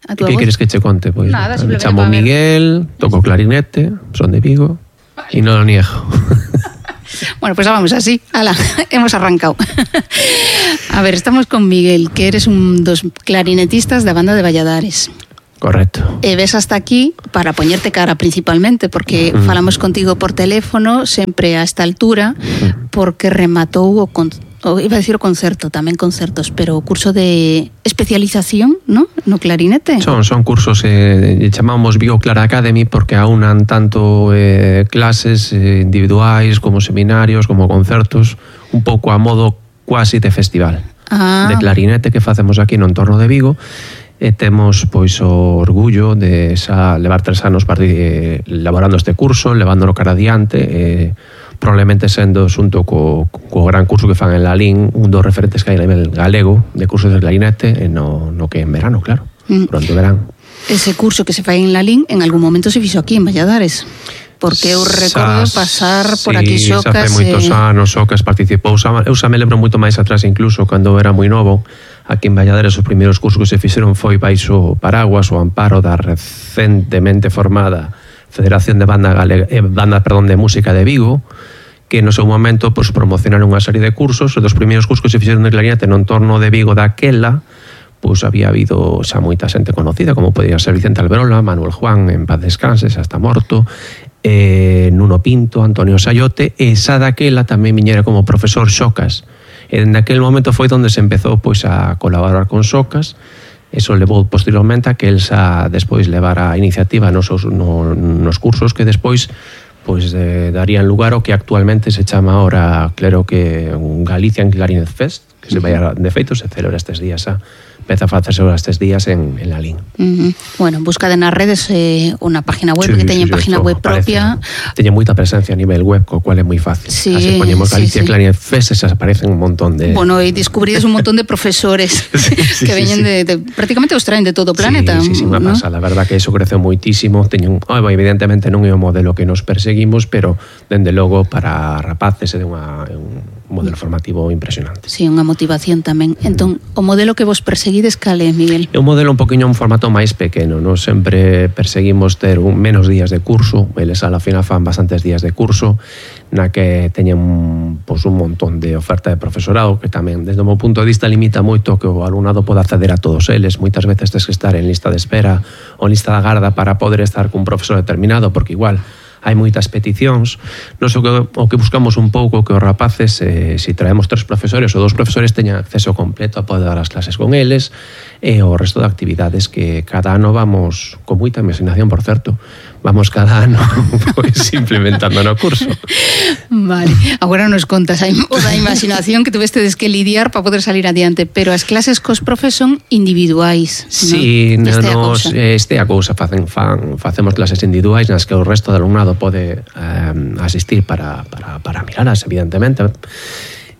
Que queres que che conte? Pois nada, me chamo Miguel, toco clarinete, son de Vigo e non lo niego. Bueno, pues vamos así. Ala, hemos arrancado. A ver, estamos con Miguel, que eres un dos clarinetistas da banda de Valladares. Correcto. E ves hasta aquí para poñerte cara principalmente, porque falamos contigo por teléfono sempre a esta altura, porque rematou iba a decir o concerto, tamén concertos, pero o curso de especialización, ¿no? No clarinete. Son cursos, chamamos Vigo Clara Academy, porque aunan tanto clases individuais como seminarios, como concertos, un pouco a modo quasi de festival de clarinete que facemos aquí no entorno de Vigo. E temos pois o orgullo de levar 3 anos elaborando este curso, levándolo cara adiante, probablemente sendo xunto co gran curso que fan en Lalín, un dos referentes que hai a nivel galego de cursos de clarinete, no que en verano, claro, durante o verán. Ese curso que se fai en Lalín en algún momento se fixo aquí en Valladares, porque eu recordo pasar por aquí Xocas. Xa fai moitos anos Xocas participou, eu xa me lembro moito máis atrás, incluso cando era moi novo. Aquí en Valladares os primeiros cursos que se fixeron foi baixo paraguas o amparo da recentemente formada Federación de de Música de Vigo, que no seu momento pues, promocionaron unha serie de cursos. Os dos primeiros cursos que se fixeron de clarinete no entorno de Vigo daquela, pues había habido xa moita xente conocida, como podía ser Vicente Alberola, Manuel Juan, en paz descanse, xa está morto, Nuno Pinto, Antonio Sayote, e xa daquela tamén viñera como profesor Xocas. En aquel momento foi onde se empezou pois, a colaborar con Xocas. Eso levou posteriormente a que el xa despois levara a iniciativa nos cursos que despois pois, darían lugar ao que actualmente se chama ahora, claro que un Galician Clarinet Fest, que se vai de feito, se celebra estes días empeza a facerse estes días en Lalín. Bueno, buscade nas redes unha página web, que teñen página web propia. Teñen moita presencia a nivel web, co cual é moi fácil. Así poñemos Galicia Clarinet Fest e se aparecen un montón de... Bueno, e descubrides un montón de profesores que veñen de prácticamente os traen de todo o planeta. Sí, unha pasada, a verdad que iso creceu moitísimo. Evidentemente non é o modelo que nos perseguimos, pero dende logo para rapaces é un modelo formativo impresionante. Sí, unha motivación tamén. Entón, o modelo que vos perseguides cal é, Miguel? É un modelo un poquinho un formato máis pequeno, non sempre perseguimos ter menos días de curso, eles a la final fan bastantes días de curso, na que teñen pues, un montón de oferta de profesorado, que tamén, desde o meu punto de vista, limita moito que o alumnado poda acceder a todos eles. Moitas veces tens que estar en lista de espera ou lista de agarda para poder estar cun profesor determinado, porque igual hai moitas peticións. Nos o que buscamos un pouco que os rapaces, se traemos 3 profesores ou 2 profesores, teñan acceso completo a poder dar as clases con eles e o resto de actividades que cada ano vamos, con moita imaginación, por certo, vamos cada ano pues, implementando no curso. Vale, agora nos contas o da imaginación que tuvestedes que lidiar para poder salir adiante, pero as clases cos profes son individuais. Sí, este a cousa facemos clases individuais nas que o resto do alumnado pode asistir para miralas, evidentemente.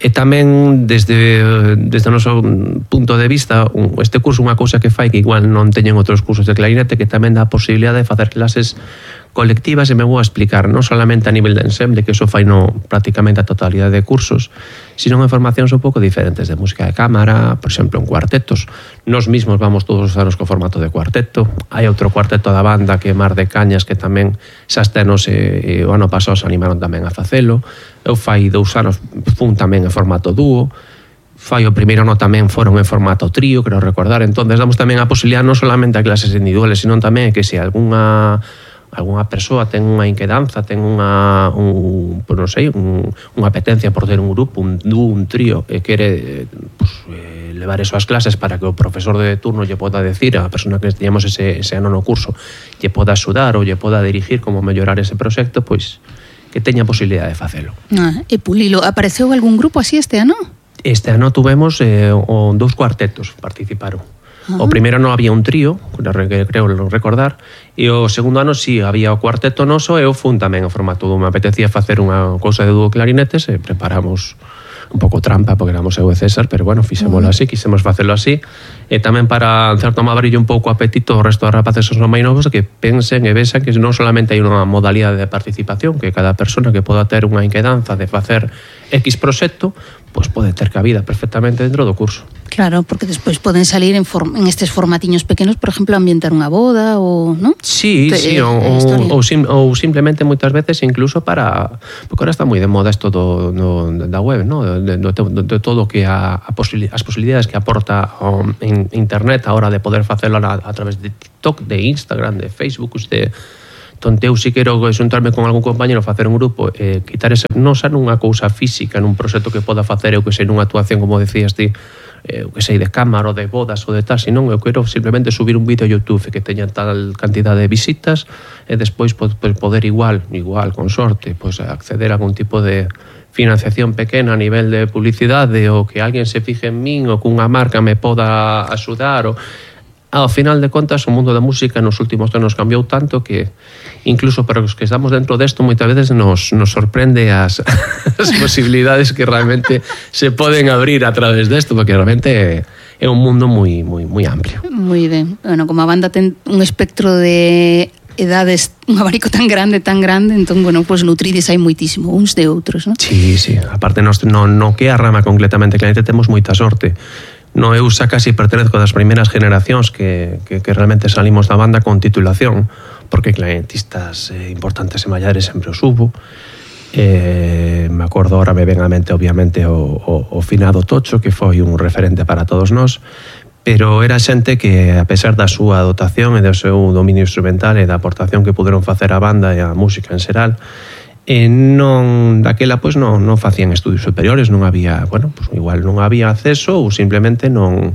E tamén, desde o noso punto de vista, este curso é unha cousa que fai que igual non teñen outros cursos de clarinete, que tamén dá a posibilidade de facer clases colectivas, e me vou a explicar, non solamente a nivel de ensemble, que iso fai prácticamente a totalidade de cursos, sino en formacións un pouco diferentes de música de cámara, por exemplo, en cuartetos. Nos mismos vamos todos os anos co formato de cuarteto. Hai outro cuarteto da banda que é Mar de Cañas, que tamén xa este ano o ano pasado se animaron tamén a facelo. Eu fai 2 anos fun tamén en formato dúo. Fai o primeiro ano tamén foron en formato trío, creo recordar. Entón, damos tamén a posibilidad non solamente a clases individuales, sino tamén que se algunha persoa ten unha inquedanza, ten unha apetencia por ter un grupo, un dúo, un trío, e quere levar eso ás clases para que o profesor de turno lle poda decir a persona que teñamos ese ano no curso, lle poda axudar ou lle poda dirigir como mellorar ese proxecto, pois que teña posibilidade de facelo. E pulilo, apareceu algún grupo así este ano? Este ano tuvemos 2 cuartetos participaron. O primeiro ano había un trío, creo recordar, e o segundo ano sí, había o cuarteto noso, e eu fun tamén en formato dúo. Me apetecía facer unha cousa de dúo clarinetes e preparamos un pouco trampa, porque éramos eu e César, pero bueno, fixémolo así, quisemos facelo así, e tamén para, en certo modo, abrir un pouco o apetito ao resto de rapaces os máis novos, que pensen e vexan que non solamente hai unha modalidade de participación, que cada persona que poda ter unha inquedanza de facer X proxecto, pois pode ter cabida perfectamente dentro do curso. Claro, porque despois poden salir en estes formatiños pequenos, por exemplo, ambientar unha boda ou, non? Sí, ou simplemente moitas veces incluso para, porque ahora está moi de moda isto da web, ¿no? de todo que as posibilidades que aporta en internet a hora de poder facelo a través de TikTok, de Instagram, de Facebook, Entón, eu si quero xuntarme con algún compañero, facer un grupo, quitar ese, non xa nunha cousa física, nun proxecto que poda facer, eu que sei, nunha actuación, como decías ti, eu que sei, de cámara ou de bodas ou de tal, senón eu quero simplemente subir un vídeo a YouTube que teña tal cantidad de visitas e despois poder igual, con sorte, pues, acceder a algún tipo de financiación pequena a nivel de publicidade ou que alguén se fixe en min ou que unha marca me poda axudar ou... Ao final de contas, o mundo da música nos últimos anos cambiou tanto que incluso para os que estamos dentro desto moitas veces nos sorprende as posibilidades que realmente se poden abrir a través desto, porque realmente é un mundo moi amplio. Moi ben. Bueno, como a banda ten un espectro de edades, un abanico tan grande, entón, bueno, pues nutrides hai moitísimo uns de outros, non? Sí. Aparte, no que a rama completamente claramente temos moita sorte. No, eu xa casi pertenezco das primeiras generacións que realmente salimos da banda con titulación, porque clarinetistas importantes e maiores sempre os hubo. Me acordo, ahora me ven a mente obviamente o finado Tocho, que foi un referente para todos nós, pero era xente que, a pesar da súa dotación e do seu dominio instrumental e da aportación que puderon facer a banda e a música en xeral, daquela pois non facían estudios superiores, non había, igual non había acceso ou simplemente non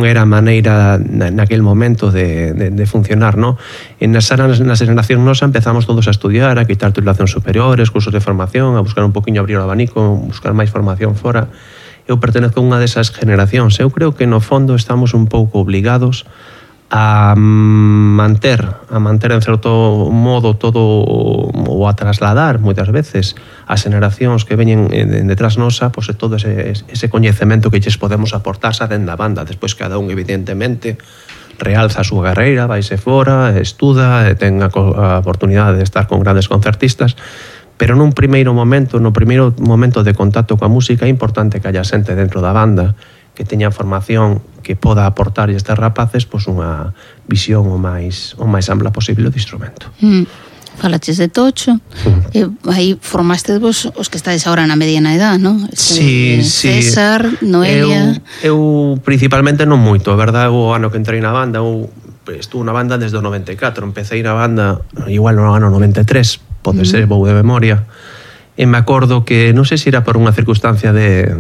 era a maneira naquel momento de funcionar, non? Na xeración nosa empezamos todos a estudiar, a quitar titulacións superiores, cursos de formación, a buscar un poquinho, abrir o abanico, buscar máis formación fora. Eu pertenezco a unha desas generacións. Eu creo que no fondo estamos un pouco obligados a manter en certo modo todo, ou a trasladar moitas veces as generacións que veñen detrás nosa, pois todo ese coñecemento que lles podemos aportar xa dentro da banda. Despois cada un evidentemente realza a súa carreira, vaise fora, estuda, ten a oportunidade de estar con grandes concertistas, pero no primeiro momento de contacto coa música é importante que haya xente dentro da banda que teña formación que poda aportar a estes rapaces pois unha visión o máis ampla posible do instrumento. Falaches de Tocho, aí formaste vos os que estades agora na mediana edad, non? Sí. César, Noelia... Eu principalmente non moito, a verdade, o ano que entrei na banda, eu estuve na banda desde o 94, empecé na banda igual no ano 93, pode ser, vou de memoria, e me acordo que, non sei se era por unha circunstancia de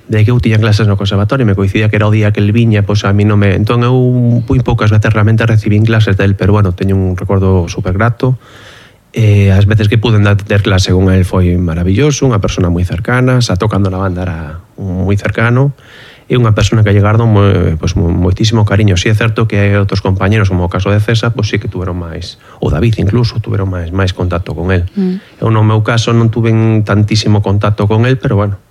que eu tiña clases no conservatorio, me coincidía que era o día que el viña, pois a mí non me... Entón eu moi poucas veces realmente recibín clases del, pero bueno, teño un recordo super grato. As veces que pude ter clase con el foi maravilloso, unha persona moi cercana, xa tocando na banda era moi cercano, e unha persona que lle gardo moitísimo cariño. Si é certo que hai outros compañeros, como o caso de César, pois sí que tuveron máis, ou David incluso, tuveron máis contacto con el. Eu no meu caso non tuve tantísimo contacto con el, pero bueno,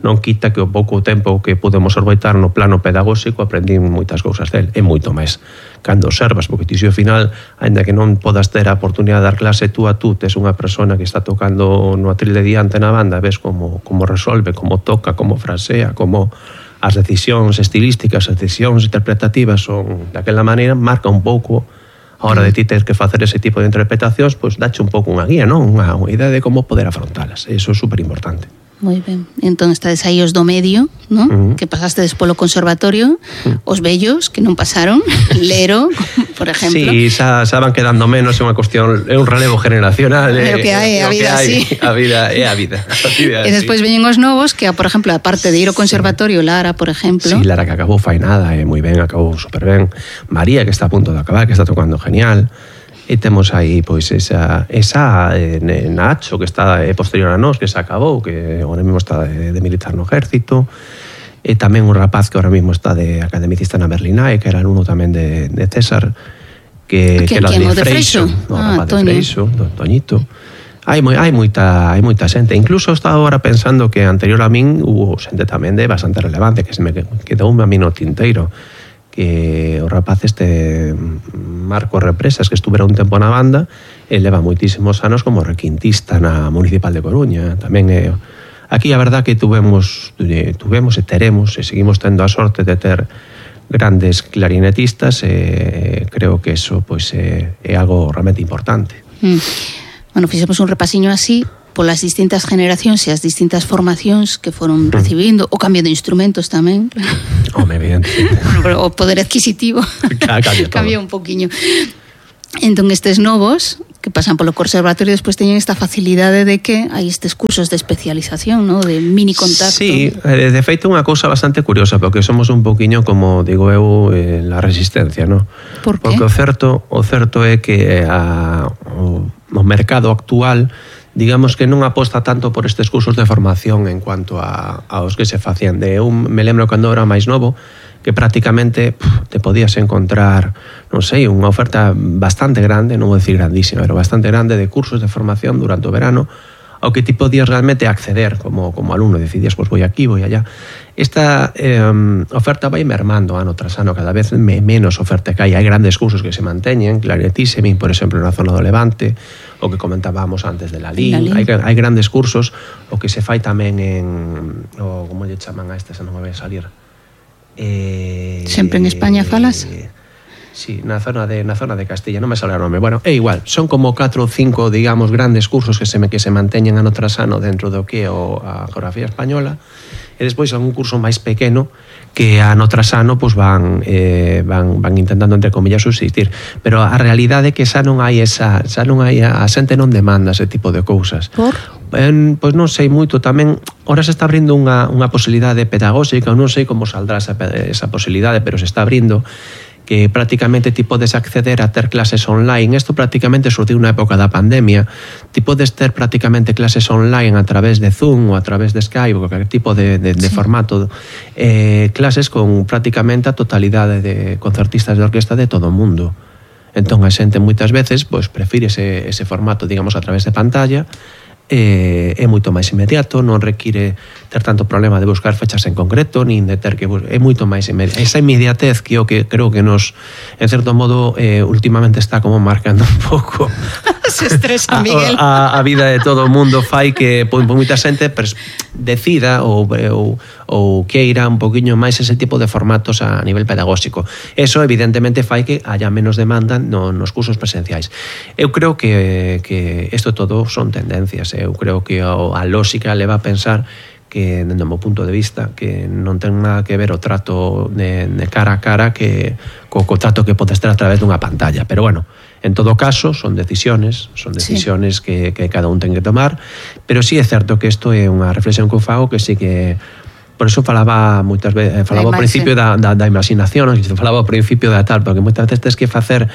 non quita que o pouco tempo que pudemos orbitar no plano pedagóxico aprendín moitas cousas del, e moito máis cando observas, porque ti ao final, aínda que non podas ter a oportunidade de dar clase tú a tú, tes unha persona que está tocando no atril de diante na banda, ves como resolve, como toca, como frasea, como as decisións estilísticas, as decisións interpretativas son daquela maneira, marca un pouco a hora de ti ter que facer ese tipo de interpretacións, pois dache un pouco unha guía, non? Unha idea de como poder afrontalas, e iso é super importante. Moi ben. Entón estades aí os do medio, non? Que pasastes polo conservatorio, os vellos que non pasaron, Lero, por exemplo. Sí, xa van quedando menos, é unha cuestión, é un relevo generacional. Pero que hai, a vida, sí. A vida é a vida. E despois veñen os novos que, por exemplo, aparte de ir ao conservatorio, Lara, por exemplo. Sí, Lara que acabou fai nada, moi ben, acabou super ben. María que está a punto de acabar, que está tocando genial. E temos aí pois esa Nacho que está posterior a nós, que se acabou, que agora mesmo está de militar no ejército, e tamén un rapaz que agora mesmo está de academicista na Berlinae, que era alumno tamén de César, que era de Freixo, o rapaz de Freixo, Toñito. Hai moita xente, incluso estaba agora pensando que anterior a min hubo xente tamén de bastante relevante, que se me quedou a mí no tinteiro, que o rapaz Marco Represas, que estuvera un tempo na banda, e leva moitísimos anos como requintista na Municipal de Coruña. Tamén Aquí a verdad que tuvemos e teremos e seguimos tendo a sorte de ter grandes clarinetistas, creo que eso pois é algo realmente importante. Bueno, fixemos un repasiño así polas distintas generacións e as distintas formacións que foron recibindo, o cambio de instrumentos tamén. Home, evidente. O poder adquisitivo cambia un poquinho. Entón, estes novos que pasan polo conservatorio despois teñen esta facilidade de que hai estes cursos de especialización, ¿no? De mini contacto. Sí, de feito unha cousa bastante curiosa, porque somos un poquinho como, digo eu, la resistencia, ¿no? Por qué? Porque o certo é que o mercado actual, digamos que non aposta tanto por estes cursos de formación en cuanto aos que se facían. Eu me lembro cando era máis novo, que prácticamente te podías encontrar, non sei, unha oferta bastante grande, non vou decir grandísima, pero bastante grande de cursos de formación durante o verano, ao que ti podías realmente acceder como alumno, decidías, pois vou aquí, vou allá. Esta oferta vai mermando ano tras ano, cada vez menos oferta que hai grandes cursos que se manteñen, clarinetísimi, por exemplo, na zona do Levante, o que comentábamos antes de la LIN, hai grandes cursos, o que se fai tamén en, como lle chaman a este, se non me vai salir, sempre en España falas? Sí, na zona de Castilla, non me sale o nome. Bueno, é igual, son como 4 ou 5, digamos, grandes cursos que se manteñen ano tras ano dentro do que é a geografía española, e despois algún curso máis pequeno que ano tras ano pois van intentando, entre comillas, subsistir. Pero a realidade é que xa non hai a xente non demanda ese tipo de cousas. Por? Pois non sei moito tamén. Ora se está abrindo unha posibilidade pedagóxica, non sei como saldrá esa posibilidade, pero se está abrindo, que prácticamente ti podes acceder a ter clases online. Isto prácticamente surtiu na época da pandemia. Ti podes ter prácticamente clases online a través de Zoom ou a través de Skype ou qualquer tipo de formato, clases con prácticamente a totalidade de concertistas de orquesta de todo o mundo. Entón a xente moitas veces pois prefire ese formato, digamos, a través de pantalla. É moito máis inmediato, non require ter tanto problema de buscar fechas en concreto, nin de ter que é moito máis inmediato. Esa inmediatez que eu creo que nos, en certo modo, últimamente está como marcando un pouco se estresa, Miguel. A vida de todo o mundo, fai que moita xente decida ou queira un poquinho máis ese tipo de formatos a nivel pedagóxico. Eso evidentemente fai que haya menos demanda nos cursos presenciais. Eu creo que isto todo son tendencias. Eu creo que a lógica leva a pensar que, dentro do meu punto de vista, que non ten nada que ver o trato de cara a cara que co trato que podes ter a través dunha pantalla. Pero bueno, en todo caso, son decisiones que cada un ten que tomar, pero sí é certo que isto é unha reflexión que eu fago, que sí que por eso falaba moitas veces, falaba ao principio da imaginación, falaba ao principio da tal, porque moitas veces tens que facer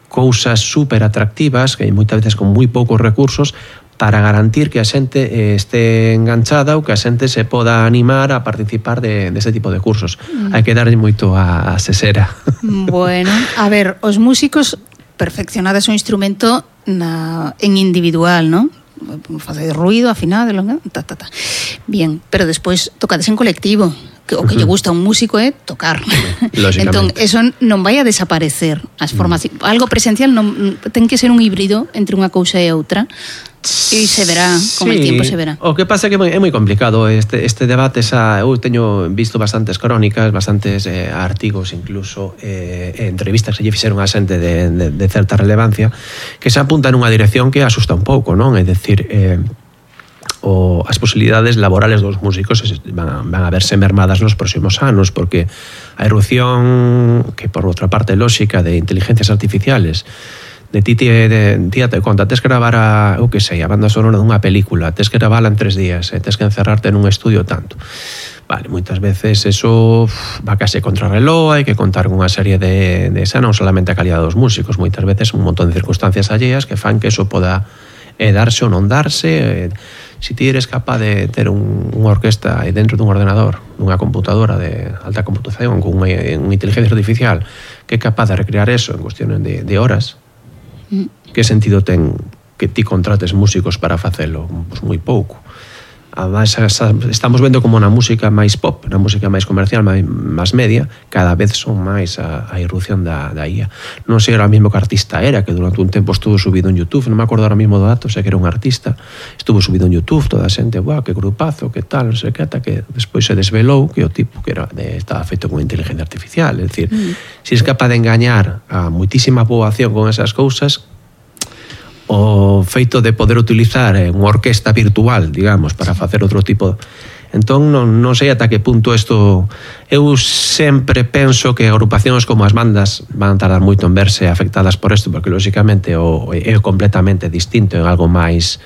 cousas super atractivas, que moitas veces con moi poucos recursos, para garantir que a xente este enganchada ou que a xente se poda animar a participar de ese tipo de cursos. Hai que darlle moito a sesera. Bueno, a ver, os músicos perfeccionades o instrumento en individual, ¿no? Facer ruido, afinar, bien, pero despois tocades en colectivo. O que lle gusta a un músico é tocar. Entón, eso non vai a desaparecer. As formacións, algo presencial non ten que ser un híbrido entre unha cousa e outra. E se verá, con el tiempo se verá. O que pasa é que é moi complicado este debate. Eu teño visto bastantes crónicas, bastantes artigos, incluso entrevistas que lle fixeron a xente de certa relevancia, que se apuntan nunha dirección que asusta un pouco, non? É dicir, as posibilidades laborales dos músicos van a verse mermadas nos próximos anos, porque a erupción, que por outra parte lógica, de inteligencias artificiales, de ti te conta, tes que gravar a banda sonora dunha película, tes que gravala en 3 días, tes que encerrarte nun estudio tanto. Vale, moitas veces eso va case contra reloj, hai que contar con unha serie de esa, non solamente a calidad dos músicos, moitas veces un montón de circunstancias alleas que fan que eso poda darse ou non darse. Si ti eres capaz de ter unha orquesta dentro dun ordenador, dunha computadora de alta computación, con unha inteligencia artificial que é capaz de recrear eso en cuestiones de horas, que sentido ten que ti contrates músicos para facelo? Pois moi pouco. Además, estamos vendo como na música máis pop, na música máis comercial, máis media, cada vez son máis a irrupción da IA. Non sei ahora mismo que artista era, que durante un tempo estuvo subido en YouTube, non me acordo ahora mismo do dato, sei que era un artista, estuvo subido en YouTube, toda a xente, guau, que grupazo, que tal, non sei que, ata que despois se desvelou que o tipo que estaba feito con inteligencia artificial. É dicir, se es capaz de engañar a moitísima poboación con esas cousas, o feito de poder utilizar unha orquesta virtual, digamos, para facer outro tipo. Entón, non sei ata que punto isto... Eu sempre penso que agrupacións como as bandas van tardar moito en verse afectadas por isto, porque, lóxicamente, é completamente distinto en algo máis,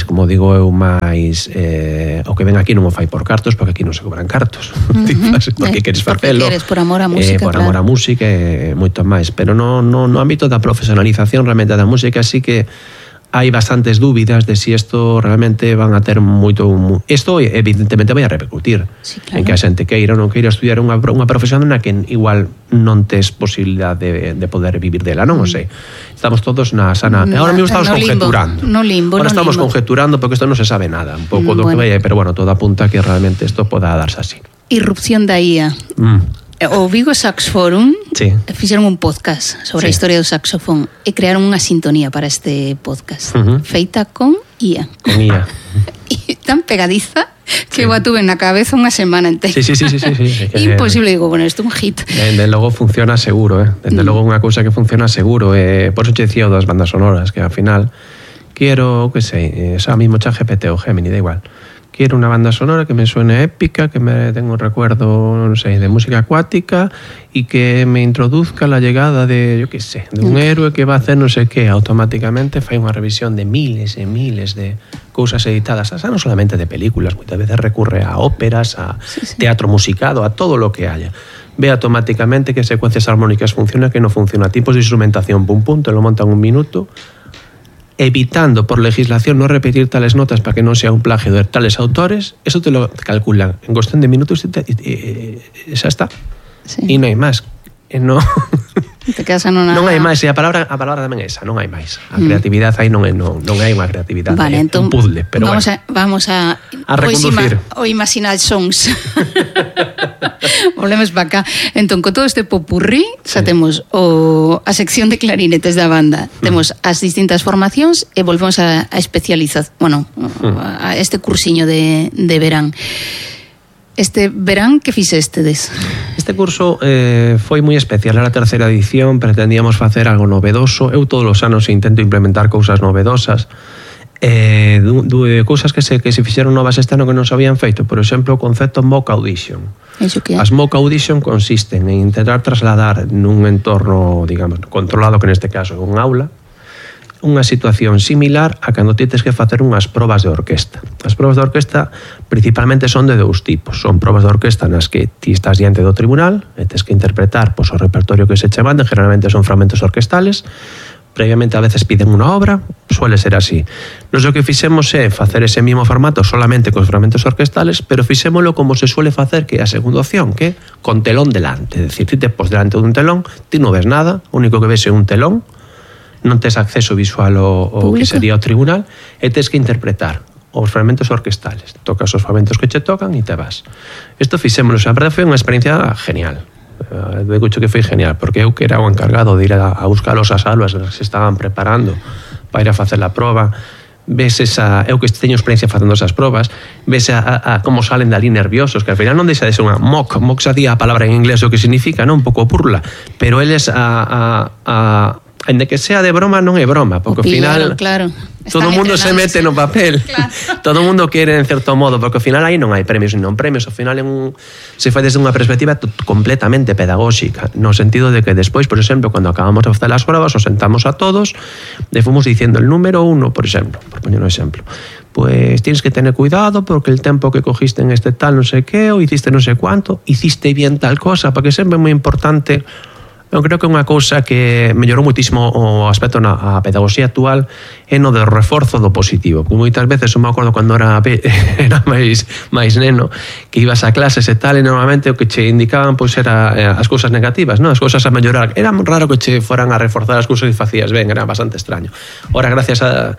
como digo eu, máis... o que ven aquí non o fai por cartos, porque aquí non se cobran cartos. Porque queres facelo. Porque queres por amor á música, por amor á música e moito máis. Pero no ámbito da profesionalización realmente da música, sí que hai bastantes dúbidas de si isto realmente van a ter moito... Isto evidentemente vai a repercutir, sí, claro, en que a xente queira ou non queira estudiar unha profesión na que igual non tes posibilidade de poder vivir dela, non o sei. Estamos todos na sana... Ahora mesmo estamos conjeturando. Ahora estamos conjeturando porque isto non se sabe nada, un pouco do que vai, pero bueno, todo apunta que realmente isto poda darse así. Irrupción da IA. O Vigo Sax Forum fixeron un podcast sobre a historia do saxofón e crearon unha sintonía para este podcast feita con IA. Con IA. E tan pegadiza que eu a tuve na cabeza unha semana entera. Sí. Imposible, digo, bueno, isto é un hit. Desde logo funciona seguro, Desde logo unha cousa que funciona seguro. Por eso te decía das bandas sonoras, que ao final quero, que sei, xa mismo ChatGPT ou Gemini, da igual. Quiero una banda sonora que me suene épica, que me tenga un recuerdo, no sé, de música acuática y que me introduzca la llegada de, yo qué sé, de un héroe que va a hacer no sé qué. Automáticamente fai unha revisión de miles e miles de cousas editadas, o sea, non solamente de películas, moitas veces recurre a óperas, a teatro musicado, a todo lo que haya. Ve automáticamente que secuencias armónicas funciona, que no funciona, tipos de instrumentación, pum, te lo montan un minuto, evitando por legislación no repetir tales notas para que non sea un plagio de tales autores. Eso te lo calculan en cuestión de minutos y xa está. E non hai máis. Non hai máis, e a palabra tamén é esa, non hai máis. A creatividade aí non hai unha creatividade, vale, entón, un puzzle, pero vamos a reconducir o imaginar sons. Volvemos para acá. Entón, con todo este popurrí, xa temos a sección de clarinetes da banda, temos as distintas formacións e volvemos a especializar, a este cursiño de verán. Este verán, que fixestedes? Este curso foi moi especial, era a terceira edición, pretendíamos facer algo novedoso. Eu todos os anos intento implementar cousas novedosas, cousas que se fixeron novas este ano que non se habían feito. Por exemplo, o concepto mock audition. As mock audition consisten en intentar trasladar nun entorno, digamos, controlado, que neste caso é un aula, unha situación similar a cando tienes que facer unhas probas de orquesta. As probas de orquesta principalmente son de dous tipos. Son probas de orquesta nas que ti estás diante do tribunal e tens que interpretar o repertorio que se che manda, generalmente son fragmentos orquestales. Previamente a veces piden unha obra, suele ser así. Nos o que fixemos é facer ese mismo formato solamente cos fragmentos orquestales, pero fixémolo como se suele facer, que é a segunda opción, que é con telón delante. É dicir, ti te pos delante dun telón, ti non ves nada, o único que ves é un telón, non tes acceso visual ao que sería o tribunal, e tes que interpretar os fragmentos orquestales. Tocas os fragmentos que che tocan e te vas. Isto fixémolo, a verdade foi unha experiencia genial. Digo que foi genial, porque eu que era o encargado de ir a buscar os aulas que se estaban preparando para ir a facer a proba, ves eu que teño experiencia facendo esas probas, ves a como salen dali nerviosos, que al final non deixa de ser unha mock xa di a palabra en inglés o que significa, non? Un pouco burla, pero eles en de que sea de broma non é broma, porque ao final todo o mundo se mete no papel, todo o mundo quere en certo modo, porque ao final aí non hai premios e non premios, ao final se fai desde unha perspectiva completamente pedagóxica, no sentido de que despois, por exemplo, cando acabamos de facer as probas, os sentamos a todos e fomos diciendo el número 1, por exemplo, por poñer un exemplo, pues tienes que tener cuidado porque el tempo que cogiste en este tal non sei que, ou hiciste non sei cuánto, hiciste bien tal cosa, porque sempre é moi importante. Eu creo que é unha cousa que mellorou muitísimo o aspecto na pedagogía actual, é no do reforzo do positivo. Como moitas veces, eu me acordo cando era máis neno, que ibas a clases e tal, e normalmente o que che indicaban pois era as cousas negativas, non? As cousas a mellorar. Era raro que che foran a reforzar as cousas que facías ben, era bastante extraño. Ora, gracias a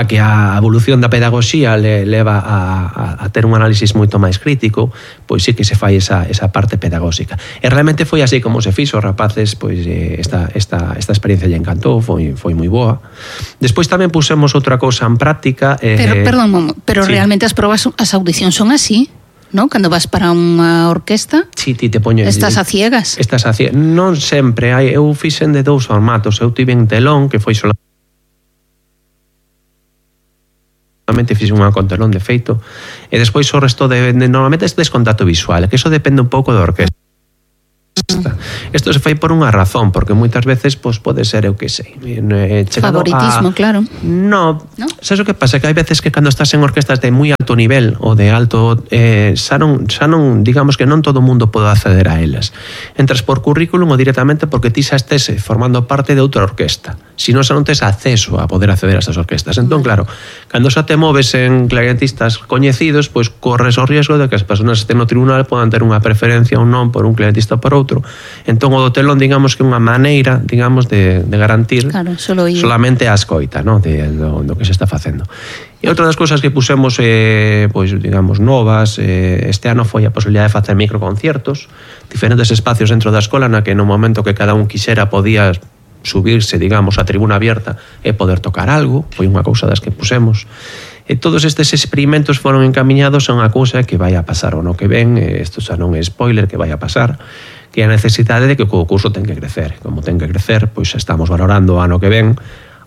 que a evolución da pedagogía leva a ter un análisis moito máis crítico, pois sí que se fai esa parte pedagóxica. E realmente foi así como se fixo, os rapaces, pois esta experiencia lle encantou, foi moi boa. Despois tamén pusemos outra cousa en práctica. Perdón, pero sí. Realmente as probas, as audicións son así, non? Cando vas para unha orquesta, sí, ti te poñes, estás a ciegas. Non sempre, eu fixen de 2 formatos. Eu tive en telón, que foi solamente fixen unha con telón de feito, e despois o resto normalmente é descontacto visual, que eso depende un pouco da orquesta. Isto se fai por unha razón, porque moitas veces pois pode ser, eu que sei, favoritismo, claro. No, sabes o que pasa? Que hai veces que cando estás en orquestas de moi alto nivel ou de alto, xa non, digamos que non todo o mundo pode acceder a elas. Entras por currículum ou directamente porque ti xa estés formando parte de outra orquesta. Si non, xa non tes acceso a poder acceder a estas orquestas. Entón, claro, cando xa te moves en clarinetistas coñecidos, pois corres o riesgo de que as persoas que estén no tribunal podan ter unha preferencia ou non por un clarinetista ou por outro. Entón, o do telón, digamos que é unha maneira, digamos, de garantir, claro, solamente a escoita, ¿no? do que se está facendo. E outra das cousas que pusemos, pois, digamos, novas, este ano foi a posibilidade de facer microconciertos, diferentes espacios dentro da escola na que no momento que cada un quixera podía subirse, digamos, a tribuna abierta e poder tocar algo, foi unha cousa das que pusemos. E todos estes experimentos foron encamiñados a unha cousa que vai a pasar o no que ven, isto xa non é spoiler, que vai a pasar, que é a necesidade de que o curso ten que crecer. Como ten que crecer, pois estamos valorando o ano que ven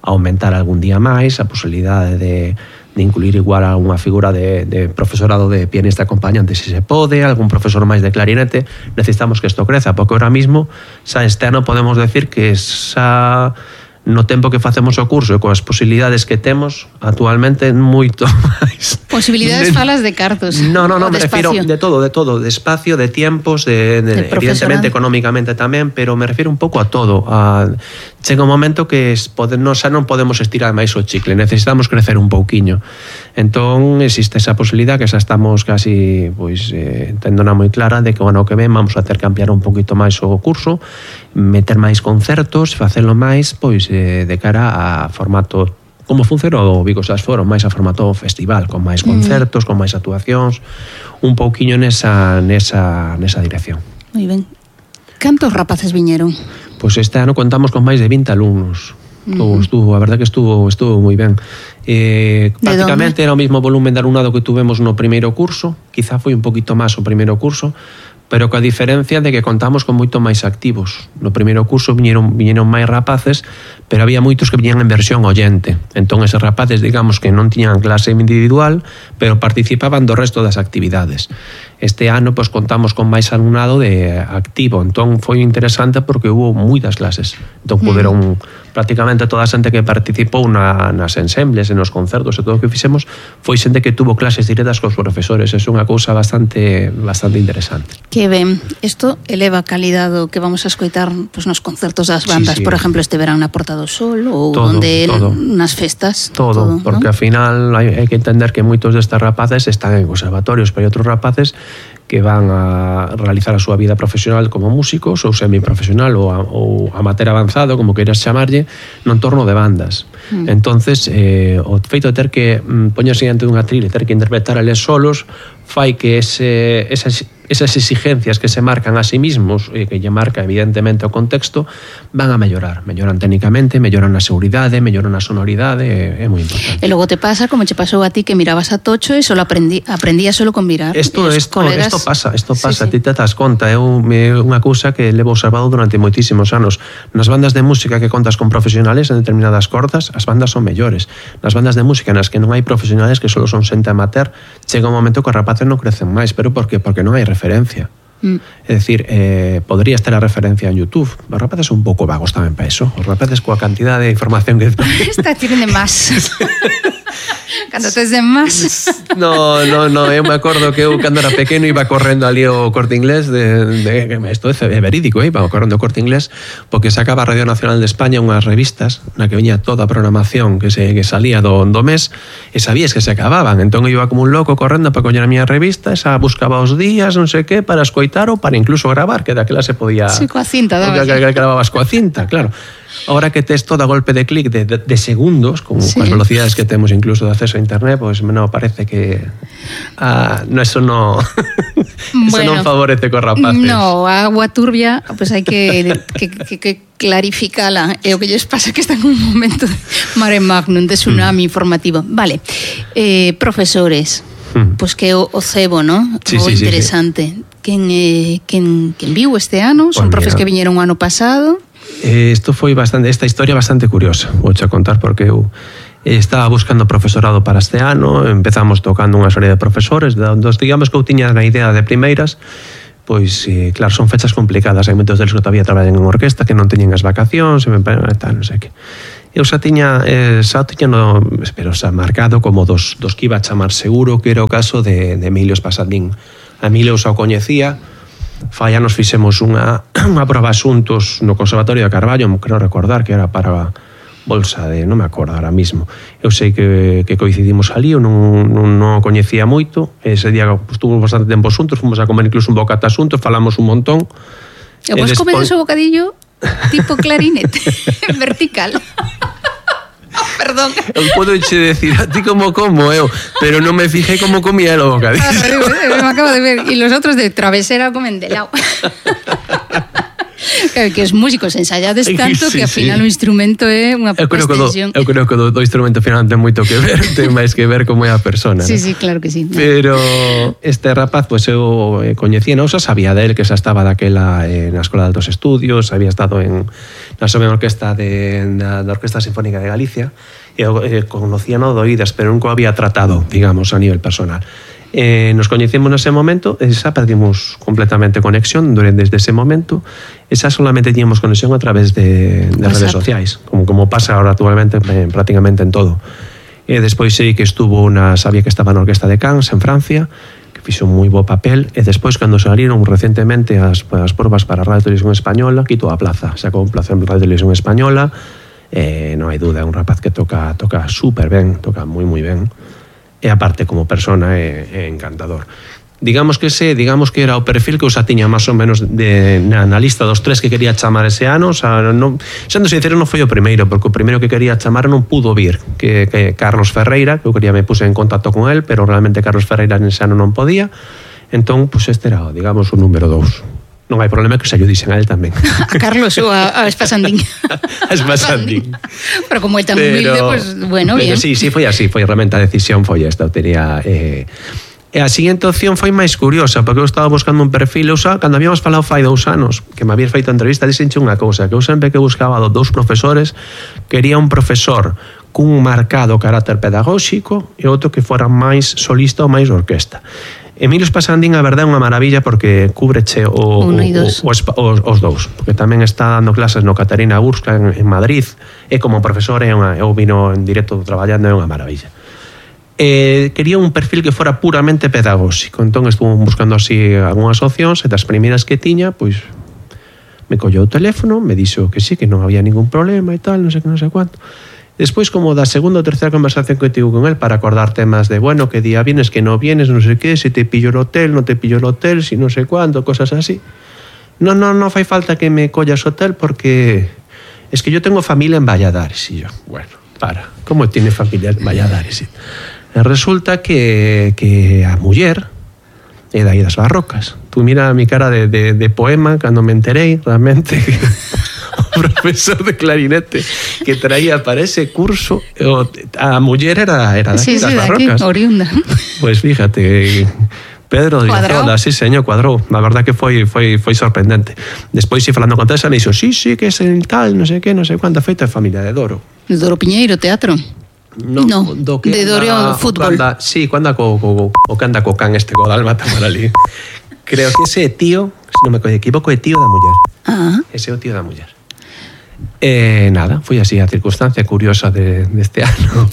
aumentar algún día máis a posibilidade de incluir igual a unha figura de profesorado de pianista acompañante, se se pode, algún profesor máis de clarinete. Necesitamos que isto creza, porque ahora mismo xa este ano podemos decir que xa no tempo que facemos o curso e coas posibilidades que temos actualmente moito máis. Posibilidades falas de cartos. No, me refiro de todo, de espacio, de tiempos, de evidentemente económicamente tamén, pero me refiro un pouco a todo. Chega un momento que xa non podemos estirar máis o chicle, necesitamos crecer un pouquiño. Entón existe esa posibilidad que xa estamos casi tendona moi clara de que o ano que ven vamos a ter que ampliar un poquito máis o curso, meter máis concertos, facelo máis de cara a formato como funcionou o Vigo Jazz Forum, máis a formato festival, con máis concertos, con máis actuacións, un pouquiño nesa dirección. Moi ben. Cantos rapaces viñeron? Pois este ano contamos con máis de 20 alumnos. A verdade que estuvo moi ben. Prácticamente era o mesmo volumen de alumnado que tuvemos no primeiro curso, quizá foi un poquito máis o primeiro curso, pero coa diferencia de que contamos con moito máis activos. No primeiro curso viñeron máis rapaces, pero había moitos que viñan en versión oyente. Entón, eses rapaces, digamos, que non tiñan clase individual, pero participaban do resto das actividades. Este ano, pois, contamos con máis alumnado de activo. Entón, foi interesante porque hubo moitas clases. Entón, puderon prácticamente toda a xente que participou nas ensembles, nos concertos e todo o que fixemos, foi xente que tuvo clases directas cos profesores. É unha cousa bastante interesante. Que ben, isto eleva a calidade do que vamos a escoitar pois, nos concertos das bandas, sí. Por exemplo, este verán na Porta do Sol ou nas festas. Todo, porque ao final hai que entender que moitos destes rapaces están en conservatorios, pero hai outros rapaces que van a realizar a súa vida profesional como músicos ou semiprofesional ou amateur avanzado, como queiras chamarlle, no entorno de bandas. Entonces, o feito de ter que poñerse diante dunha atril e ter que interpretar eles solos fai que esas exigencias que se marcan a sí mismos e que lle marca evidentemente o contexto van a melloran técnicamente, melloran a seguridade, melloran a sonoridade, é moi importante. E logo te pasa como che pasou a ti que mirabas a Tocho e solo aprendías solo con mirar. Isto pasa, sí. Ti te das conta, é unha cousa que levo observado durante moitísimos anos. Nas bandas de música que contas con profesionales en determinadas cordas, as bandas son mellores. Nas bandas de música nas que non hai profesionales, que solo son xente amateur, chega un momento que os rapaces non crecen máis, pero por qué? Porque non hai referencia. É dicir, podría estar a referencia en YouTube. Os rapaces son un pouco vagos tamén para eso. Os rapaces coa cantidad de información que esta tienen de más. Cando tes de más. No, eu me acordo que eu cando era pequeno iba correndo ali ao Corte Inglés isto é verídico, iba correndo ao Corte Inglés porque sacaba a Radio Nacional de España unhas revistas na que viña toda a programación que salía do mes e sabías que se acababan, entón eu iba como un loco correndo para coñer a miña revista, esa buscaba os días, non sei que, para escoitar ou para incluso gravar, que daquela se podía... Sí, coa cinta, daba. Grababas coa cinta, claro. Ahora que tes todo a golpe de clic de segundos, con as velocidades que temos incluso de acceso a internet, pues non parece que eso non favorece cos rapaces. No, a agua turbia, pues hai que clarificala. É o que lles pasa que están en un momento de mare magnum, de tsunami informativo. Vale, profesores, pues que o cebo, ¿no? Sí, interesante. Sí. Quen viu este ano? Son profes que viñeron o ano pasado. Esta historia bastante curiosa, vou a contar porque eu estaba buscando profesorado para este ano, empezamos tocando unha serie de profesores, digamos que eu tiña na idea de primeiras, pois, claro, son fechas complicadas, hai moitos deles que todavía traballan en orquesta, que non teñen as vacacións, tal, non sei que. Eu xa tiña marcado como dos que iba a chamar seguro, que era o caso de Emilio Spasandín. A Emilio xa o coñecía, fai anos fixemos unha proba asuntos no Conservatorio de Carballo, creo recordar que era para bolsa de, non me acordo ahora mismo. Eu sei que coincidimos ali, eu non o coñecía moito, ese día estuvimos bastante tempo xuntos, fomos a comer incluso un bocata xuntos, falamos un montón. E vos comedes o bocadillo tipo clarinete, vertical. Perdón. Eu podo che decir a ti como eu, pero non me fijei como comía o bocadillo. Me acabo de ver. E los otros de travesera comen de lado. Que os músicos ensayades tanto que ao final o instrumento é unha extensión. Eu creo que do instrumento final ten moito que ver, ten máis que ver como é a persona. Sí, claro que sí. Pero este rapaz, pues eu coñecía, non xa sabía del, que xa estaba daquela na Escola de Altos Estudios, había estado na Soberana Orquesta da Orquesta Sinfónica de Galicia, e conocía no de oídas, pero nunca había tratado, digamos, a nivel personal. Nos coñecemos nese momento e xa perdimos completamente conexión desde ese momento e xa solamente tiñamos conexión a través de redes sociais, como pasa ahora actualmente prácticamente en todo. E despois sei que sabía que estaba na Orquesta de Cannes en Francia, que fixo un moi bo papel, e despois cando saliron recentemente as probas para Radio Televisión Española, quito a plaza, sacou un plaza en Radio Televisión Española, non hai dúda, é un rapaz que toca super ben, toca moi ben. E aparte como persona é encantador. Digamos que era o perfil que eu xa tiña máis ou menos na lista dos 3 que quería chamar ese ano, sendo sincero non foi o primeiro, porque o primeiro que quería chamar non pudo vir, que Carlos Ferreira, que eu me puse en contacto con él, pero realmente Carlos Ferreira nese ano non podía, entón, pues este era, digamos, o número 2. Non hai problema que se yo dixen a él tamén. A Carlos ou a Spasandín. A Spasandín. Pero como é tan humilde, pues bueno, bien. Sí, foi así, foi realmente a decisión foi esta, eu tería... E a seguinte opción foi máis curiosa, porque eu estaba buscando un perfil, cando habíamos falado fai 2 anos, que me había feito entrevista, dixenche unha cousa, que eu sempre que buscaba 2 profesores, quería un profesor cun marcado carácter pedagóxico e outro que fora máis solista ou máis orquesta. Emilio Spasandín, a verdade, é unha maravilla porque cúbreche os dous, porque tamén está dando clases no Catarina Burska en Madrid, e como profesor eu vino en directo traballando, é unha maravilla. Quería un perfil que fora puramente pedagóxico, entón estuve buscando así algunhas opcións, e das primeiras que tiña, pois me colleu o teléfono, me dixo que sí, que non había ningún problema e tal, non sei cuánto. Despois, como da segunda ou terceira conversación que tivo con él para acordar temas de, bueno, que día vienes, que no vienes, non sei que, se te pillo el hotel, non te pillo el hotel, si non sei cuánto, cosas así. No fai falta que me collas hotel porque es que yo tengo familia en Valladares. Y yo, bueno, ¿cómo tiene familia en Valladares? E resulta que a muller é dai das Barrocas. Tú mira mi cara de poema cando me enterei, realmente... profesor de clarinete que traía para ese curso a muller era de aquí, das Barrocas. Aquí, oriunda. Pues fíjate, Pedro de Zola, sí, señor, cuadrou. La verdad que foi sorprendente. Despois, falando con Teresa, me dixo, sí, que es el tal, non sei que, non sei cuánta, feita de familia de Doro. De Doro Piñeiro, teatro? No, de Doro fútbol. Sí, cuando anda co can este Godalma tamar ali. Creo que ese tío, se non me equivoco, é tío da muller. Ese é o tío da muller. Nada, foi así a circunstancia curiosa deste ano.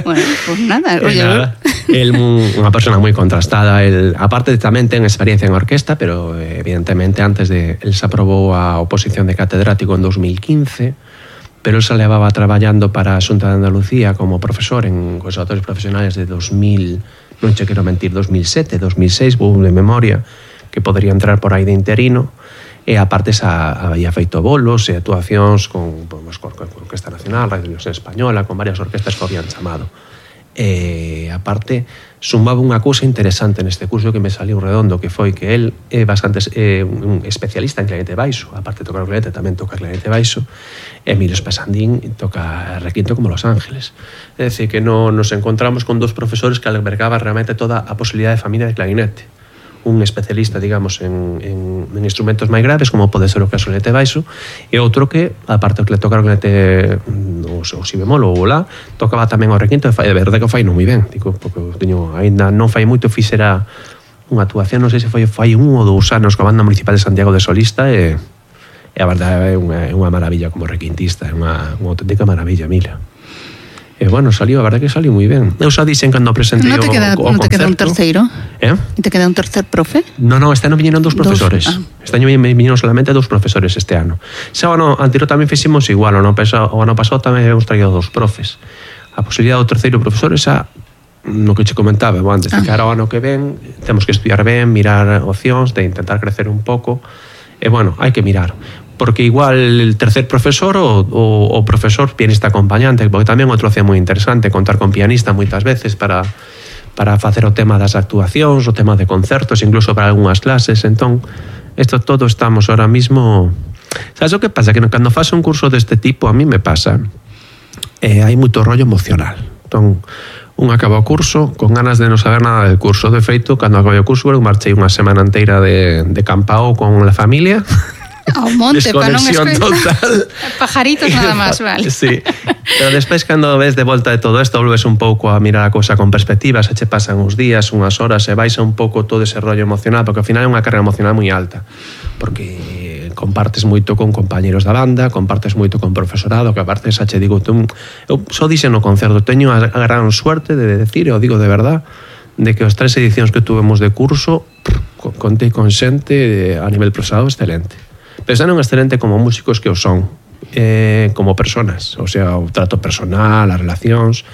Bueno, pues nada, oye, nada. El unha persona moi contrastada, aparte tamén ten experiencia en orquesta, pero evidentemente antes el se aprobou a oposición de catedrático en 2015, pero el se levaba traballando para a Xunta de Andalucía como profesor en conservatorios profesionales de 2000, non che quero mentir, 2007, 2006, vou de memoria, que podría entrar por aí de interino. E aparte había feito bolos e actuacións con Orquesta Nacional, Radio Televisión Española, con varias orquestas que habían chamado. E aparte sumaba unha cousa interesante neste curso que me saliu redondo, que foi que el é bastante un especialista en clarinete baixo, aparte de tocar o clarinete tamén toca clarinete baixo, e Emilio Espasandín toca requinto como Los Ángeles. É dicir, que nos encontramos con dos profesores que albergaban realmente toda a posibilidade de familia de clarinete. Un especialista, digamos, en instrumentos máis graves, como pode ser o caso do clarinete baixo, e outro que, aparte que le toca o clarinete o si bemol ou o la, tocaba tamén o requinto, e de verdade que o fai non moi ben, digo, porque ainda non fai moito, fixera unha actuación, non sei se fai 1 ou 2 anos coa Banda Municipal de Santiago de solista, e a verdade é unha maravilla como requintista, é unha auténtica maravilla, Mila. E bueno, a verdade que saliu moi ben. Eu xa dixen cando presentei o concerto. Non te queda un terceiro? E te queda un tercer profe? No, este ano viñeron 2 profesores. Este ano viñeron solamente 2 profesores este ano. Xa o ano anterior tamén fixemos igual, o ano pasado tamén hemos traído 2 profes. A posibilidade do terceiro profesor esa no que che comentaba antes, de cara ao ano que ven temos que estudiar ben, mirar opcións de intentar crecer un pouco, e bueno, hai que mirar, porque igual el tercer profesor o profesor pianista acompañante, porque tamén outro opción moi interesante, contar con pianista moitas veces para facer o tema das actuacións, o tema de concertos, incluso para algunhas clases. Entón, isto todo estamos ahora mismo. Sabes o que pasa? Que cando faz un curso deste tipo, a mí me pasa, hai moito rollo emocional. Entón, un acaba o curso con ganas de non saber nada del curso. De feito, cando acabei o curso, eu marchei unha semana inteira de campao con a familia. Ao monte, para non escoitar. Pajaritos nada máis, vale. Sí. Pero despois, cando ves de volta de todo isto, volves un pouco a mirar a cousa con perspectiva, se che pasan uns días, unhas horas, e vais un pouco todo ese rollo emocional, porque ao final é unha carga emocional moi alta, porque compartes moito con compañeros da banda, compartes moito con profesorado, que aparte xa che digo, eu só dixen no concerto, teño a gran suerte de decir, e o digo de verdad, de que as 3 edicións que tuvemos de curso, contei con xente a nivel profesorado excelente. Pero xa non excelente como músicos que o son, como personas, o sea, o trato personal, as relacións.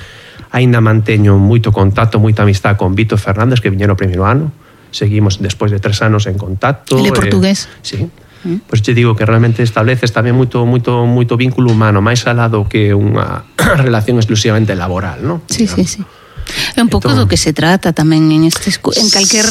Ainda manteño moito contacto, moita amistad con Vito Fernández, que viñeron o primeiro ano. Seguimos despois de 3 anos en contacto. Ele é portugués. Sí. Pois te digo que realmente estableces tamén moito vínculo humano, máis alado que unha relación exclusivamente laboral, ¿no? Sí, digamos. Sí. É un pouco do que se trata tamén en calquer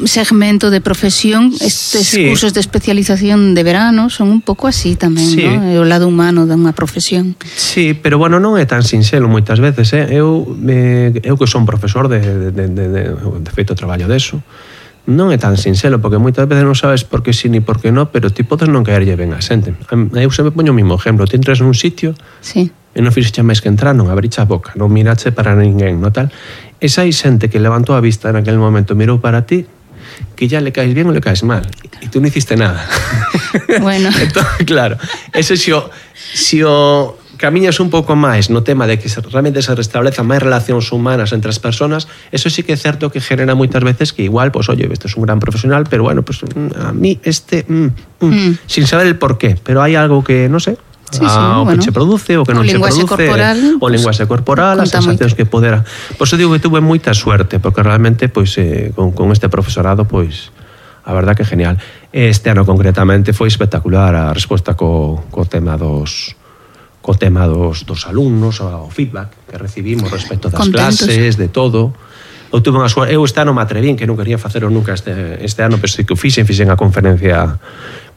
segmento de profesión. Estes cursos de especialización de verano son un pouco así tamén, ¿no? É o lado humano dunha profesión. Sí, pero bueno, non é tan sinxelo moitas veces, Eu que son profesor de feito traballo deso, non é tan sinxelo, porque moitas veces non sabes por que sí ni por que non, pero ti podes non caerlle ben a xente. Eu sempre poño o mismo exemplo, ti entras nun sitio, e non fixeche máis que entrar, non abriche a boca, non mirache para ninguén, no tal. Esa hai xente que levantou a vista en aquel momento, mirou para ti, que ya le caes bien ou le caes mal, e tú non hiciste nada. Bueno. Entón, claro, eso si o camiñas un pouco máis no tema de que realmente se restablezan máis relacións humanas entre as persoas, eso sí que é certo que genera moitas veces que igual, pues oye, este é un gran profesional, pero bueno, pues a mí sin saber el porqué, pero hai algo que, non sei, o que che produce, o que non che produce, o linguaxe corporal, as sensacións que podera. Por eso digo que tuve moita suerte, porque realmente con este profesorado, a verdad que genial. Este ano concretamente foi espectacular a resposta co tema dos alumnos, o feedback que recibimos respecto das clases, de todo. Eu tuve unha suerte, eu este ano me atrevín, que non quería facelo nunca este ano, pero sí que fixen a conferencia.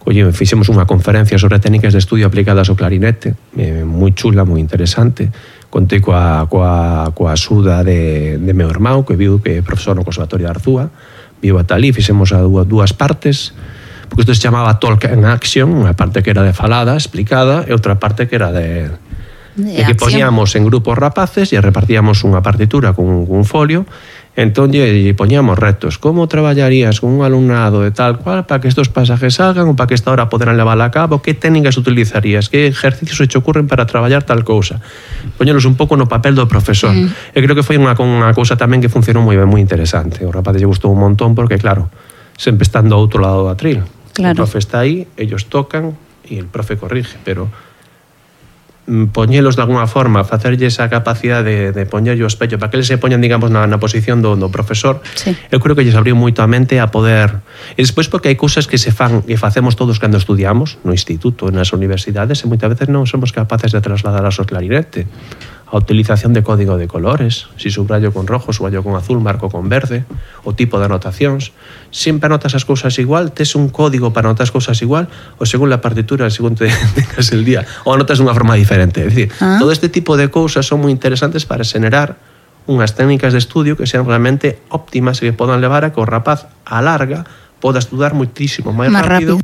Fixemos unha conferencia sobre técnicas de estudio aplicadas ao clarinete, moi chula, moi interesante. Contei coa axuda de meu irmão, que viu que é profesor no Conservatorio de Arzúa, viu ata ali, fixemos a 2 partes, porque isto se chamaba Talk and Action, unha parte que era de falada, explicada, e outra parte que era de que poñíamos en grupos rapaces e repartíamos unha partitura con un folio, Entón, poñamos retos. Como traballarías con un alumnado de tal cual para que estos pasajes salgan ou para que esta hora poderán levarla a cabo? Que técnicas utilizarías? Que ejercicios se te ocurren para traballar tal cousa? Poñelos un pouco no papel do profesor. E creo que foi unha cousa tamén que funcionou moi ben, moi interesante. O rapaz lle gustou un montón porque, claro, sempre están do outro lado do atril. Claro. O profe está aí, ellos tocan e el profe corrige, pero poñelos de alguna forma, facerlle esa capacidade de poñerlle o espello para que eles se poñan, digamos, na posición do profesor, sí. Eu creo que lles abriu moito a mente a poder... E despois porque hai cousas que se fan e facemos todos cando estudiamos no instituto, nas universidades, e moitas veces non somos capaces de trasladar ao clarinete. A utilización de código de colores, si subrayo con rojo, subrayo con azul, marco con verde, o tipo de anotacións. Sempre anotas as cousas igual, tes un código para anotar as cousas igual, ou según la partitura, según tengas el día, ou anotas dunha forma diferente. É dicir, todo este tipo de cousas son moi interesantes para xenerar unhas técnicas de estudio que sean realmente óptimas e que podan levar a que o rapaz a larga poda estudar muitísimo máis rápido.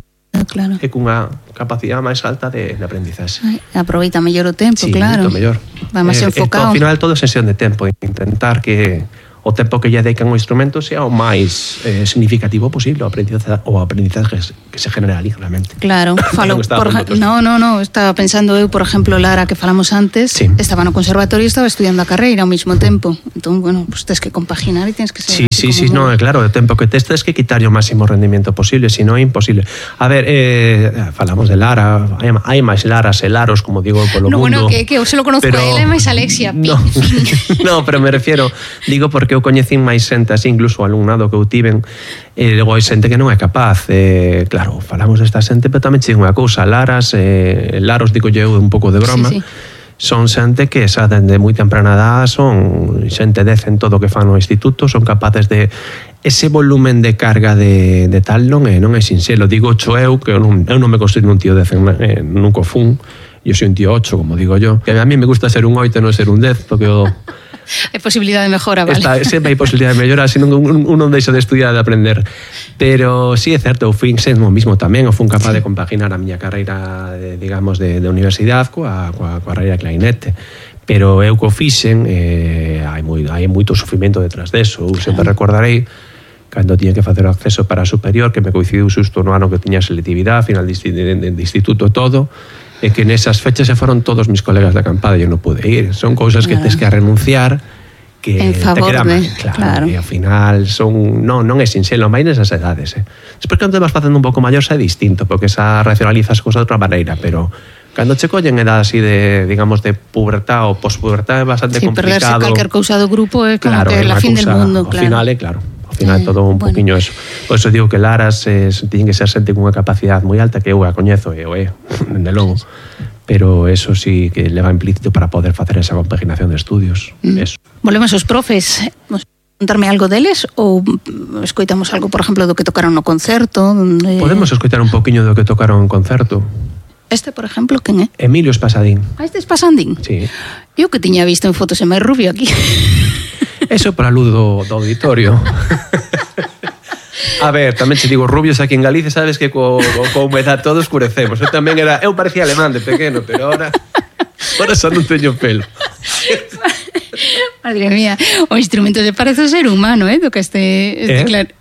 Claro. E cunha capacidade máis alta de aprendizaxe. Aproveita mellor o tempo, sí, claro. Moito mellor. Va máis enfocado. Ao final todo é sesión de tempo, intentar que o tempo que lle dedican ao instrumento sea o máis significativo posible, o aprendizaje que se genera ali realmente. Claro, falo estaba pensando eu, por exemplo, Lara, que falamos antes, sí. Estaba no conservatorio e estaba estudiando a carreira ao mesmo tempo. Entón, bueno, pues tens que compaginar e tens que ser... Sí, no, claro, o tempo que tes que quitarlle o máximo rendimento posible, se non é imposible. A ver, falamos de Lara, hai máis Laras e Laros, como digo, polo mundo. Bueno, que eu se lo conozco a ela, é máis Alexia. No, pero me refiero, digo porque eu coñecín máis xente así, incluso o alumnado que eu tiven, e logo hai xente que non é capaz. Claro, falamos desta xente, pero tamén che digo unha cousa, Laros, digo eu un pouco de broma, sí. Son xente que xa dende moi temprana edad son xente en todo o que fan no instituto, son capaces de ese volumen de carga de tal non é sinxelo. Digo eu, que eu non me considero un tío 10, nunca fun, eu soy un tío 8, como digo yo, que a mí me gusta ser un 8 e non ser un 10, porque hai posibilidade de mejora, vale? Sempre hai posibilidade de mellora, senón un non deixa de estudiar e de aprender. Pero sí é certo, eu fui sendo mismo tamén, eu fui capaz de compaginar a miña carreira, digamos, de universidade coa carreira de clarinete. Pero eu co fixen, hai moito sufrimento detrás deso. Eu sempre recordarei cando tiña que facer o acceso para a superior, que me coincidiu xusto no ano que tiña selectividade, final de instituto todo, e que nesas fechas se foron todos mis colegas de acampada e eu non pude ir. Son cousas que tes que renunciar, que en favor te queda mal, claro. E ao final non é sinxelo, máis nesas edades. Despois cando te vas facendo un pouco maior xa é distinto, porque xa racionalizas cousas de outra maneira, pero cando che collen edad así de, digamos, de pubertad ou pospubertad é bastante complicado. Sí, perderse calquer cousa do grupo é como que é la fin del mundo, claro. Ao final é claro. Ao final todo un poquinho eso. Por eso digo que Laras tiñen que ser xente cunha capacidade moi alta, que eu a coñezo e o é, dende logo. Pero eso sí que leva implícito para poder facer esa compaginación de estudios. Eso. Volvemos aos profes. Contarme algo deles ou escoitamos algo, por exemplo, do que tocaron no concerto? Podemos escoitar un poquinho do que tocaron en concerto. Este, por exemplo, quen é? Emilio Espasadín. Este é Espasadín? Sí. Eu que tiña visto en fotos é máis rubio aquí. Eso para a luz do auditorio. A ver, tamén te digo, rubios aquí en Galicia, sabes que co humedad todo escurecemos. Eu parecía alemán de pequeno, pero ahora xa non teño pelo. Madre mía, o instrumento se parece ao ser humano, do que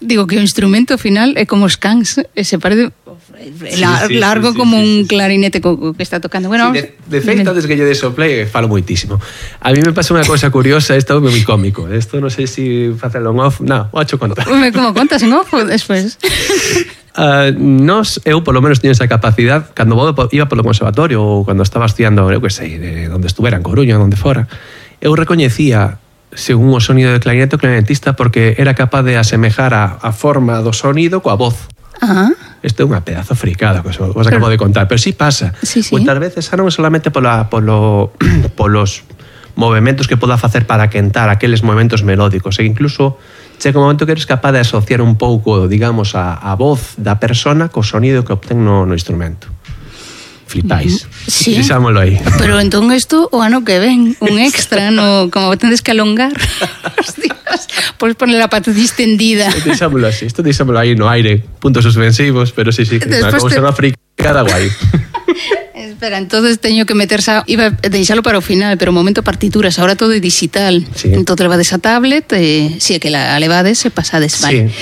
digo que o instrumento ao final é como os cans, se parece largo como un clarinete que está tocando. Bueno, de feito, antes que lle desoplei, falo moitísimo. A mí me pasa unha cousa curiosa, isto é moi cómico. Isto non sei se facelo en off. Non, o hacho contar. Como contas en off despois? Eu polo menos teño esa capacidade cando iba polo conservatorio ou cando estaba estudiando, eu que sei, de onde estuvera, en Coruña, onde fora, eu recoñecía según o sonido de clarinete o clarinetista porque era capaz de asemejar a forma do sonido coa voz. Isto é unha pedazo fricada que vos acabo de contar, pero sí pasa. Sí. Moitas veces non é solamente polos movimentos que poda facer para quentar aqueles movimentos melódicos, e incluso chega un momento que eres capaz de asociar un pouco, digamos, a voz da persona co sonido que obtén no instrumento. Flipáis. Sí. Deixámoslo aí. Pero entón isto o ano que ven, un extra, como tendes que alongar. Hostias, podes poner a pata distendida. Deixámoslo así, isto deixámoslo aí no aire, puntos suspensivos, pero sí, que unha cousa fricada guai. Espera, entonces teño que meterse, iba a deixalo para o final, pero o momento partituras, ahora todo é digital. Sí. Entón levades a tablet, si é que la levades e pasades, vale. Sí.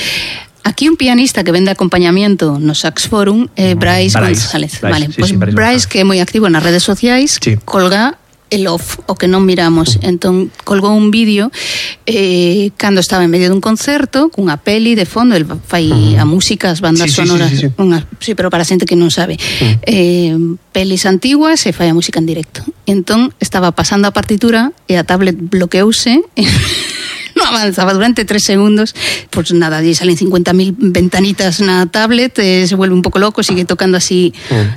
Aquí un pianista que vende acompañamiento no Sax Forum, Brais González. Vale, sí, pues sí, Brais, que é moi activo nas redes sociais, sí, colga el off, o que non miramos. Entón, colgou un vídeo cando estaba en medio dun concerto, cunha peli de fondo, el fai a música, as bandas sonoras, sí. Sí, pero para a xente que non sabe. Pelis antiguas e fai a música en directo. Entón, estaba pasando a partitura e a tablet bloqueouse no avanzaba durante 3 segundos, pues nada, allí salen 50.000 ventanitas na tablet, se vuelve un poco loco, sigue tocando así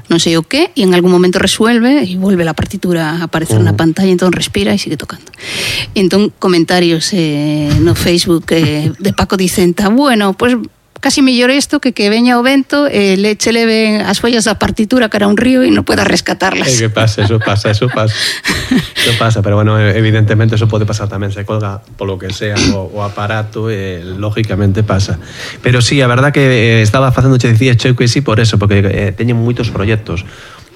non sei o qué, e en algún momento resuelve e vuelve la partitura a aparecer na pantalla, entón respira e sigue tocando. E entón comentarios no Facebook de Paco Dicenta, bueno, pues casi mellor isto que veña o vento e leche leve as follas da partitura cara a un río e non pueda rescatarlas. Que pasa, eso pasa. Eso pasa, pero bueno, evidentemente eso pode pasar tamén, se colga polo que sea o aparato, lógicamente pasa. Pero sí, a verdad que estaba facendo, che dicía, che que sí por eso, porque teñen moitos proxectos,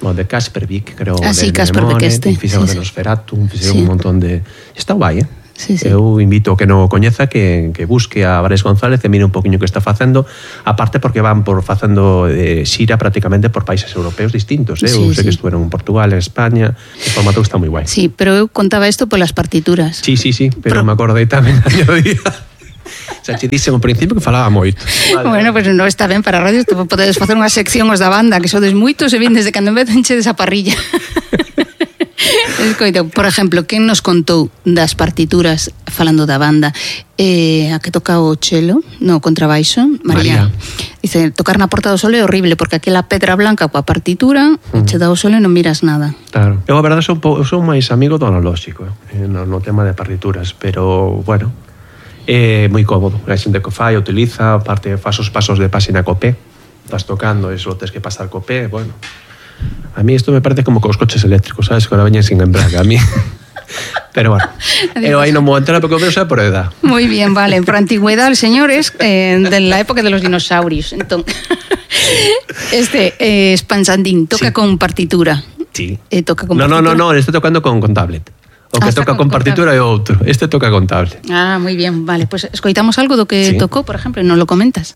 o de Kaspervik, creo, sí, de Kaspervik Memore, fixeron de Nosferatu, fixeron un montón de... Está guai, Sí. Eu invito que non o coñeza que busque a Brais González e mire un poquinho que está facendo, aparte porque van facendo xira prácticamente por países europeos distintos, eu sei que estuveron en Portugal, en España, o formato está moi guai. Sí, pero eu contaba isto polas partituras. Sí, pero me acordei tamén a día. Xa che dixen ao principio que falaba moito. Bueno, pues non está ben para a radio, podedes facer unha sección os da banda, que sodes moitos e vindes de cando en vez enchedes a parrilla. Por exemplo, quen nos contou das partituras falando da banda, a que toca o chelo no contrabaixo, María. Dice, tocar na Porta do Sol é horrible porque aquela pedra blanca coa partitura che dá o sol e non miras nada. Claro. Eu a verdade son máis amigo do analóxico no tema de partituras, pero bueno, é moi cómodo. A xente que fai, utiliza, aparte faz os pasos de páxina co pé, estás tocando e só tes que pasar co pé, bueno. A mí isto me parece como cos coches eléctricos, sabes, que ahora veñen sin embrague, a mí. Pero bueno, eu aí non vou entrar porque o meu xa por edad. Muy bien, vale, por antigüedad, señores, de la época de los dinosaurios. Entón, Spansandín toca con partitura. Sí. Toca con partitura. No, este tocando con tablet. O que toca con partitura é outro. Este toca con tablet. Ah, muy bien, vale, pues escoitamos algo do que tocou, por exemplo, e non lo comentas.